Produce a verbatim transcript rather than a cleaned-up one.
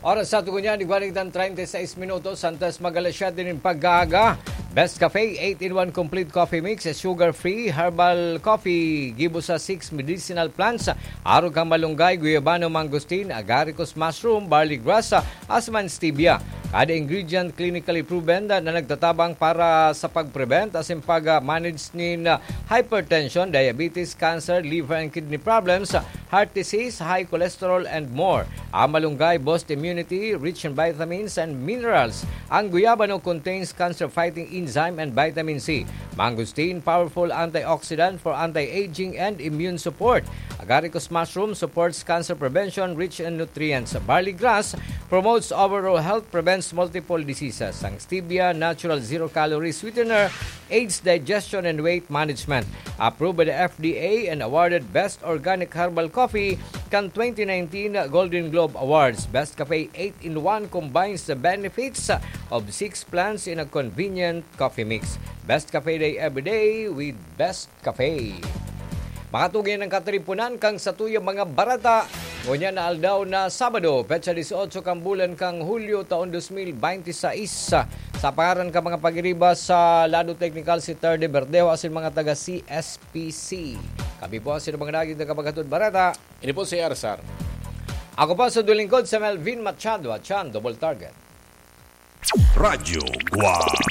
Oras sa tugon niya, di ba, treinta y seis minutos, antes mag-alas siyete nin pag-aaga. Best Cafe, eight-in-one complete coffee mix, sugar-free, herbal coffee, gibo sa six medicinal plants, arog kan malunggay, guyabano, mangosteen, agaricus mushroom, barley grass, asin man stevia. Kada ingredient clinically proven na nagtatabang para sa pag-prevent asin pag-manage nin hypertension, diabetes, cancer, liver and kidney problems, heart disease, high cholesterol, and more. Ang malunggay boost immunity, rich in vitamins and minerals. Ang guyabano contains cancer-fighting enzyme and vitamin C. Mangosteen, powerful antioxidant for anti-aging and immune support. Agaricus mushroom supports cancer prevention, rich in nutrients. Barley grass promotes overall health, prevents multiple diseases. Ang stevia, natural zero-calorie sweetener, aids digestion and weight management. Approved by the F D A and awarded Best Organic Herbal Coffee kan twenty nineteen Golden Globe Awards. Best Cafe eight-in-one combines the benefits of six plants in a convenient coffee mix. Best Cafe Day every day with Best Cafe. Makatugyan ang katiripunan kan satuyang mga bareta. Ngunyan na aldaw na Sabado, petsa dieciocho kan bulan kan Hulyo, taon dos mil bente seis. Sa pangaran kan mga pagiriba sa lado teknikal, si Ter de Verdejo asin mga taga C S P C. Kami po ang sinubang naging tagapaghatod bareta. Ini po si Arsar. Ako po sa dulingkod, sa Melvin Machado at Chan Double Target. Radyo Guwang.